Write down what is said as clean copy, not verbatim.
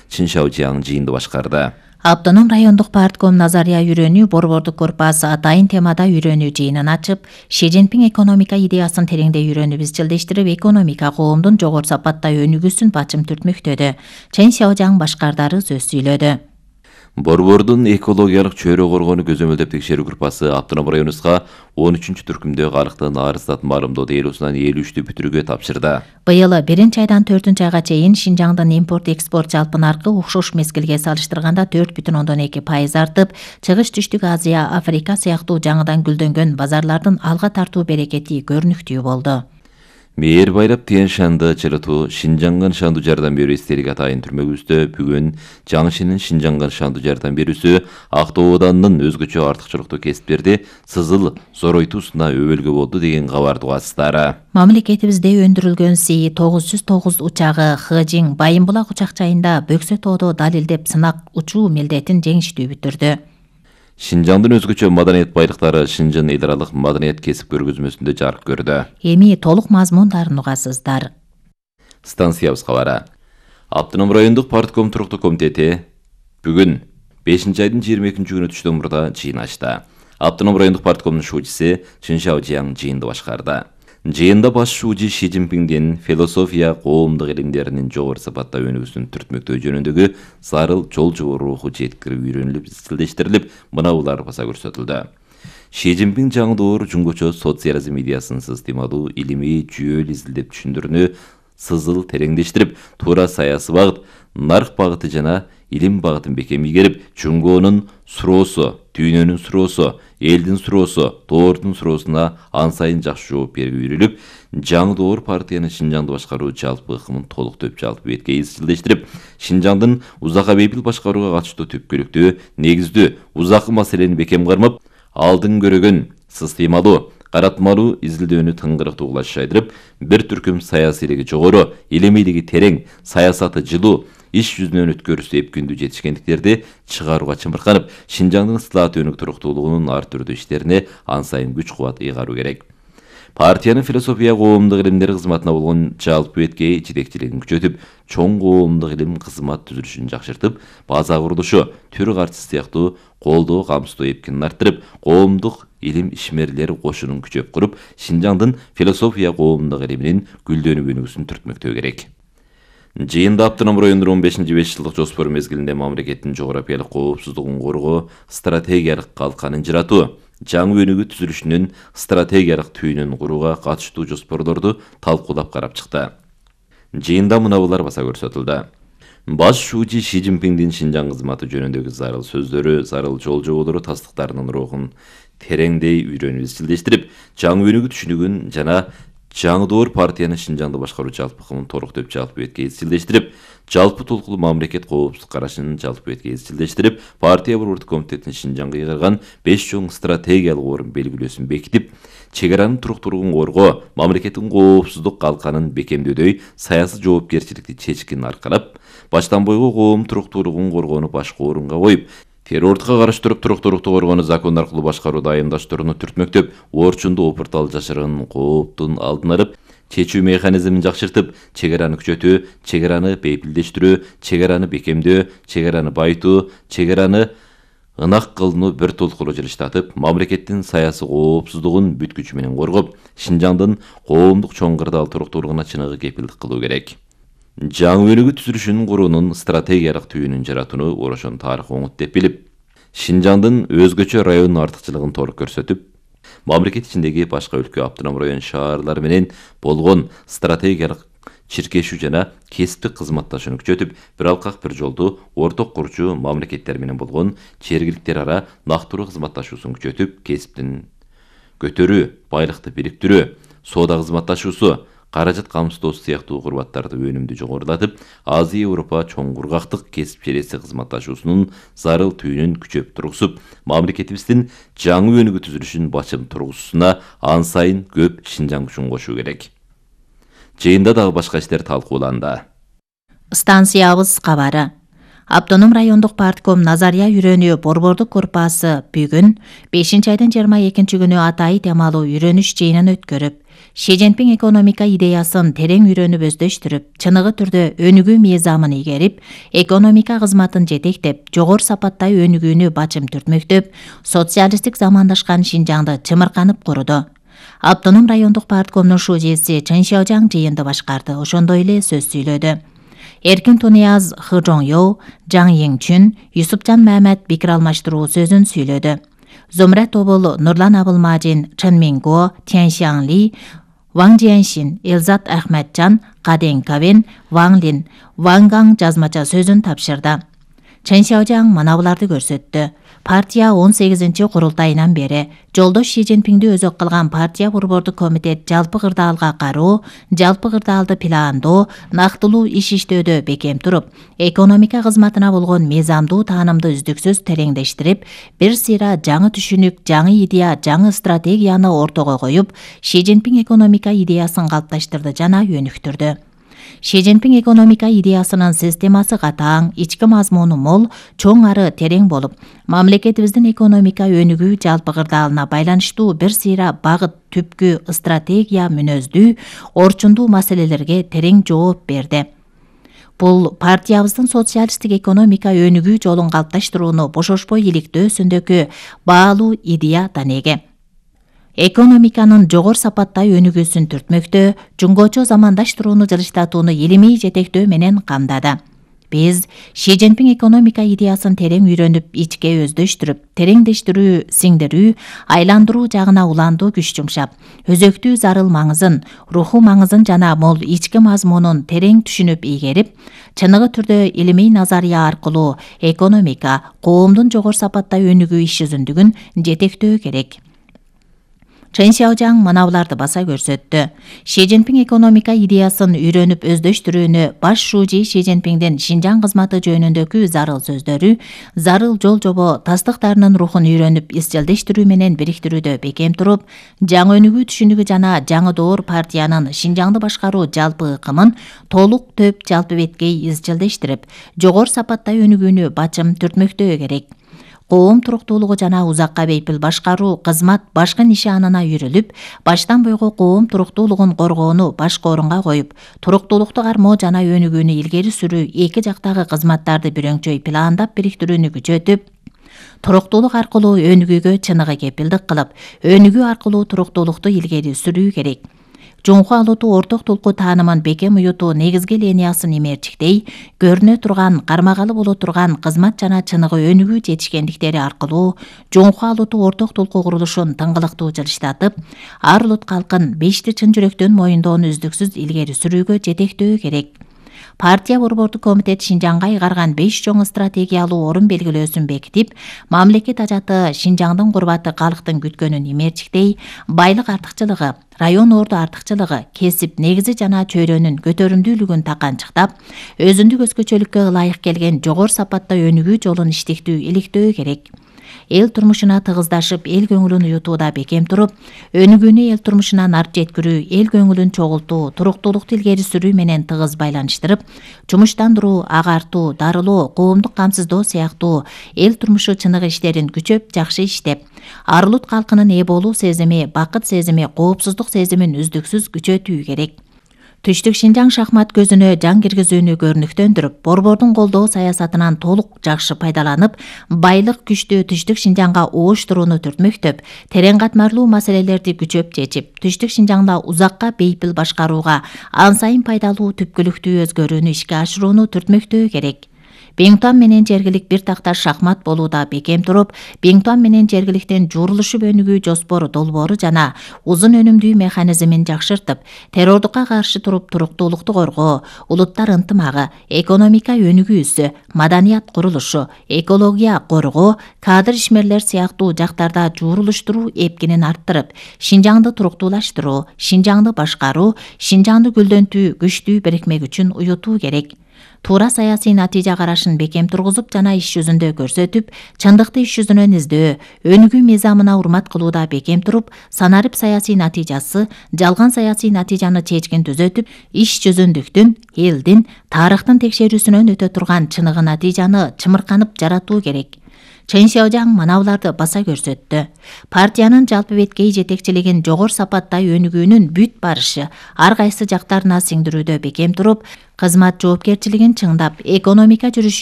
Чин Шаожияң жыйынды башкарды. Автоном райондук партком Назария үйрөнүү борбордук корпасы атайын темада үйрөнүү жыйынын ачып, Ши Цзиньпин экономика идеясын тереңдей үйрөнүп изчилдештирип, экономика коомдун жогору сапатта өнүгүүсүн бачым түртмөктөдү. Чен Сяожаң башкардары сөз сүйлөдү. Борбордун экологиялык чөйрө коргоону көзөмөлдөп текшерүү группасы автоном районубузга 13-түркүмдө калктын арыздат маалымдоо делосунан 53-тү бүтүрүүгө тапшырды. Быйыл 1-айдан 4-айга чейин Шинжаңдын импорт-экспорт жалпы наркы окшош мезгилге салыштырганда 4,2% артып, Чыгыш Түштүк Азия, Африка сыяктуу жаңыдан гүлдөнгөн базарлардын алга тартуу берекети көрүнүктүү болду. Мээр байлап Тиен Шанды чырытуу Шинжаңган шанду жардам берүү эстелик атайын түрмөгүбүздө бүгүн Жаңшинин Шинжаңган шанду жардам берүүсү Актоо ауданынын өзгөчө артыкчылыктуу кесиптерди сызыл зоройтуусуна өбөлгө болду деген кабарды угасыздар. Мамлекетибизде өндүрүлгөн Си-909 учагы Хыжин Байымбулак учак жайында Бөксө тоодо далилдеп сынак учуу милдетин жеңиштүү бүтүрдү. Шинжаңдын өзгөчө маданият байлыктары Шинжан эл аралык маданият кесип көргөзмөсүндө жарык көрдү. Эми толук мазмундарын угасыздар. Станциябыз кабары. Автоном райондук партком туруктуу комитети бүгүн 5-айдын 22-күнү түштөн мурда жыйын ачты. Автоном райондук парткомдун шуучусу Чин Шаожияң жыйынды башкарды. Жыйында баш шуучу Ши Цзиньпиндин философия коомдук илимдеринин жогору сапатта өнүгүүсүн түртмөктөө жөнүндөгү зарыл жол жобо руху жеткирип үйрөнүлүп изчилдештирилип, мынаулар баса көрсөтүлдү. Ши Цзиньпин жаңы доор жунгучу социализм идеясын сыстемалуу илимий жүйөлүү изилдеп түшүндүрүүнү сызыл тереңдештирип, туура саясий багыт, нарк багыты жана илим багытын бекем ийгерип, жунгоонун суроосу, дүйнөнүн суроосу, элдин суроосу, тоордун суроосуна ан сайын жакшы жооп берүүгө үйрүлүп, жаңы доор партиянын Шинжаңды башкаруу жалпы ыкымын толуктоп жалпы бетке изчилдештирип, Шинжаңдын узакка бейпил башкарууга катыштуу түпкүлүктүү, негиздүү, узакы маселени бекем кармап, алдын көрөгөн, сыстемалуу, каратмалуу изилдөөнү тыңгырыктуу кылаш жайдырып, бир түркүм саясийлиги жогору, илимийлиги терең, саясаты жылуу, иш жүзүнөн өткөрүүсү эпкүндүү жетишкендиктерди чыгарууга чымырканып, Шинжаңдын ыстылаат өнүк туруктуулугунун ар түрдүү иштерине ан сайын күч кубат ыйгаруу керек. Партиянын философия коомдук илимдери кызматына болгон жалпы беткей жетекчилигин күчөтүп, чоң коомдук илим кызмат түзүлүшүн жакшыртып, база курулушу, түр картысы сыяктуу колдоо камсыздоо эпкинин арттырып, коомдук илим ишмерлери кошунун күчөп куруп, Шинжаңдын философия коомдук илиминин гүлдөнүп өнүгүүсүн түртмөктөө керек. Жыйында автоном райондун 15-5 жылдык жоспору мезгилинде мамлекеттин жогорапиялык коопсуздугун коргоо стратегиялык калканын жыратуу, жаңы өнүгүү түзүлүшүнүн стратегиялык түйүнүн курууга катыштуу жоспорлорду талкуулап карап чыкты. Жыйында мынаулар баса көрсөтүлдү. Баш шуучу Ши Цзиньпиндин Шинжаң кызматы жөнүндөгү зарыл сөздөрү, зарыл жол жоболору тастыктарынын рухун тереңдей үйрөнүп изчилдештирип, жаңы өнүгүү түшүнүгүн жана жаңы доор партиянын Шинжаңды башкаруу жалпы ыкымын толуктоп жалпы бетке изчилдештирип, жалпы толкулуу мамлекет коопсуздук карашын жалпы бетке изчилдештирип, партия борбордук комитетин Шинжаңга ыйгарган 5 чоң стратегиялык орун белгилөөсүн бекитип, чегаранын туруктуулугун коргоо, мамлекеттин коопсуздук калканын бекемдөөдөй саясий жоопкерчиликти чечкин аркалап, баштан бойго коом туруктуулугун коргоону башкы орунга коюп, террордукка каршы туруп туруктуулукту коргоону закон аркылуу башкарууду айымдаштырууну түртмөктөп, орчунду опуртал жашырган кооптун алдын алып, чечүү механизмин жакшыртып, чегараны күчөтүү, чегараны бейпилдештирүү, чегараны бекемдөө, чегараны байытуу, чегараны ынак кылууну бир толкулуу жылыштатып, мамлекеттин саясий коопсуздугун бүт күчү менен коргоп, Шинжаңдын коомдук чоң кырдаал туруктуулугуна чыныгы кепилдик кылуу керек. Жаңы өнүгүү түзүлүшүнүн куруунун стратегиялык түйүнүн жаратууну орошон тарых оңут деп билип, Шинжаңдын өзгөчө районунун артыкчылыгын толук көрсөтүп, мамлекет ичиндеги башка өлкө автоном район шаарлары менен болгон стратегиялык чиркешүү жана кесиптик кызматташууну күчөтүп, бир алкак бир жолду орток курчу мамлекеттер менен болгон жергиликтер ара нактуруу кызматташуусун күчөтүп, кесиптин көтөрүү, байлыкты бириктирүү, соода кызматташуусу, каражат камсыздоосу сыяктуу курбаттарды өнүмдүү жогорулатып, Азия Европа чоң кургактык кесип челеси кызматташуусунун зарыл түйүнүн күчөп тургузуп, мамлекетибиздин жаңы өнүгүү түзүлүшүн бачым тургузуусуна ан сайын көп Шинжаң күчүн кошуу керек. Жыйында дагы башка иштер талкууланды. Станциябыз кабары. Автоном райондук партком Назария үйрөнүү борбордук корпасы бүгүн 5-айдын 22-күнү атайын темалуу үйрөнүш жыйынын өткөрүп, Ши Цзиньпин экономика идеясын терең үйрөнүп өздөштүрүп, чыныгы түрдө өнүгүү мыйзамын ийгерип, экономика кызматын жетектеп, жогору сапаттай өнүгүүнү бачым түртмөктөп, социалисттик замандашкан Шинжаңды чымырканып куруду. Автоном райондук парткомдун шужеси Чен Шаожаң жыйынды башкарды, ошондой эле сөз сүйлөдү. Эркин Тунияз Хы Жоңё, Жаң Еңчүн, Юсупжан Мамед пикир алмаштыруу сөзүн сүйлөдү. Зумрат Тобул, Нурлан Абылмажин, Чын Минго, Тянь Шаңли, Ваң Жиэншин, Элзат Ахматжан, Каден Кавен, Ваң Лин, Ваң Гаң жазмача сөзүн тапшырды. Чен Шаожаң мына буларды көрсөттү. Партия 18-чи курултайынан бери жолдош Ши Цзиньпинди өзөк кылган партия борбордук комитет жалпы кырдаалга кароо, жалпы кырдаалды пландоо, нактылуу иш иштөөдө бекем туруп, экономика кызматына болгон мыйзамдуу таанымды үздүксүз тереңдештирип, бир сыйра жаңы түшүнүк, жаңы идея, жаңы стратегияны ортого коюп, Ши Цзиньпин экономика идеясын калыпташтырды жана өнүктүрдү. Ши Цзиньпин экономика идеясынын системасы катаң, ички мазмуну мол, чоң ары терең болуп, мамлекетибиздин экономика өнүгүү жалпы кырдаалына байланыштуу бир сыйра багыт, түпкү, стратегия, мүнөздүү, орчундуу маселелерге терең жооп берди. Бул партиябыздын социалисттик экономика өнүгүү жолун калыпташтырууну бошошпой иликтөөсүндөгү баалуу идея данеге. Экономиканын жогору сапаттай өнүгүүсүн түртмөктө, жунгочо замандаштырууну жылыштатууну илимий жетектөө менен камдады. Биз Ши Цзиньпин экономика идеясын терең үйрөнүп, ичке өздөштүрүп, тереңдештирүү, сиңдирүү, айландыруу жагына уландуу күч жумшап, өзөктүү зарыл маңызын, руху маңызын жана мол ички мазмунун терең түшүнүп ийгерип, чыныгы түрдө илимий назария аркылуу экономика, коомдун жогору сапаттай өнүгүү иш жүзүндүгүн жетектөө керек. Чен Шаожаң мына буларды баса көрсөттү. Ши Цзиньпин экономика идеясын үйрөнүп өздөштүрүүнү баш шужи Ши Цзиньпиндин Шинжаң кызматы жөнүндөгү зарыл сөздөрү, зарыл жол жобо тастыктарынын рухун үйрөнүп изчилдештирүү менен бириктирүүдө бекем туруп, жаңы өнүгүү түшүнүгү жана жаңы доор партиянын Шинжаңды башкаруу жалпы ыкымын толук төп жалпы беткей изчилдештирип, жогору сапаттай өнүгүүнү бачым түртмөктөө керек. Коом туруктуулугу жана узакка бейпил башкаруу кызмат башкы нишанына үйрүлүп, баштан бойго коом туруктуулугун коргоону башкы орунга коюп, туруктуулукту кармоо жана өнүгүүнү илгери сүрүү эки жактагы кызматтарды бүрөңчөй пландап бириктирүүнү күчөтүп, туруктуулук аркылуу өнүгүүгө чыныгы кепилдик кылып, өнүгүү аркылуу туруктуулукту илгери сүрүү керек. Жоңку алууту орток толку таанымын бекем уютуу негизги линиясын имерчиктей, көрүнө турган, кармагалы боло турган кызмат жана чыныгы өнүгүү жетишкендиктери аркылуу жоңку алууту орток толку курулушун тыңгылыктуу жылыштатып, ар улут калкын бешти чын жүрөктөн моюндоону үздүксүз илгери сүрүүгө жетектөө керек. Партия борбордук комитет Шинжаңга ыйгарган 5 чоң стратегиялуу орун белгилөөсүн бекитип, мамлекет ажаты Шинжаңдын курбаты калктын күткөнүн имерчиктей, байлык артыкчылыгы, район орду артыкчылыгы, кесип негизи жана чөйрөнүн көтөрүмдүүлүгүн таканчыктап, өзүндүк өзгөчөлүккө ылайык келген жогору сапатта өнүгүү жолун иштиктүү иликтөө керек. Эл турмушуна тыгыздашып, эл көңүлүн уютууда бекем туруп, өнүгүүнү эл турмушуна нарт жеткирүү, эл көңүлүн чогултуу, туруктуулукту илгери сүрүү менен тыгыз байланыштырып, жумуштандыруу, агартуу, дарылоо, коомдук камсыздоо сыяктуу эл турмушу чыныгы иштерин күчөп, жакшы иштеп, ар улут калкынын ээ болуу сезими, бакыт сезими, коопсуздук сезимин үздүксүз күчөтүү керек. Түштүк Шинжаң шахмат көзүнө жан киргизүүнү көрүнүктөндүрүп, борбордун колдоо саясатынан толук жакшы пайдаланып, байлык күчтүү Түштүк Шинжаңга ооштурууну түртмөктөп, терең катмарлуу маселелерди күчөп чечип, Түштүк Шинжаңда узакка бейпил башкарууга ан сайын пайдалуу түпкүлүктүү өзгөрүүнү ишке ашырууну түртмөктөө керек. Биңтуан менен жергилик бир такташ шахмат болууда бекем туруп, Биңтуан менен жергиликтин жуурулушуп өнүгүү жоспору долбоору жана узун өнүмдүү механизмин жакшыртып, террордукка каршы туруп туруктуулукту коргоо, улуттар ынтымагы, экономика өнүгүүсү, маданият курулушу, экология коргоо, кадр ишмерлер сыяктуу жактарда жуурулуштуруу эпкинин арттырып, Шинжаңды туруктуулаштыруу, Шинжаңды башкаруу, Шинжаңды гүлдөнтүү, күчтүү бирикме күчүн уютуу керек. Туура саясий натыйжа карашын бекем тургузуп жана иш жүзүндө көрсөтүп, чындыкты иш жүзүнөн издөө, өнүгүү мыйзамына урмат кылууда бекем туруп, санарип саясий натыйжасы, жалган саясий натыйжаны чечкин түзөтүп, иш жүзүндүктүн, элдин, тарыхтын текшерүүсүнөн өтө турган чыныгы натыйжаны чымырканып жаратуу керек. Чен Сяожаң манауларды баса көрсөттү. Партиянын жалпы беткей жетекчилигин жогору сапаттай өнүгүүнүн бүт барышы ар кайсы жактарына сиңдирүүдө бекем туруп, кызмат жоопкерчилигин чыңдап, экономика жүрүшү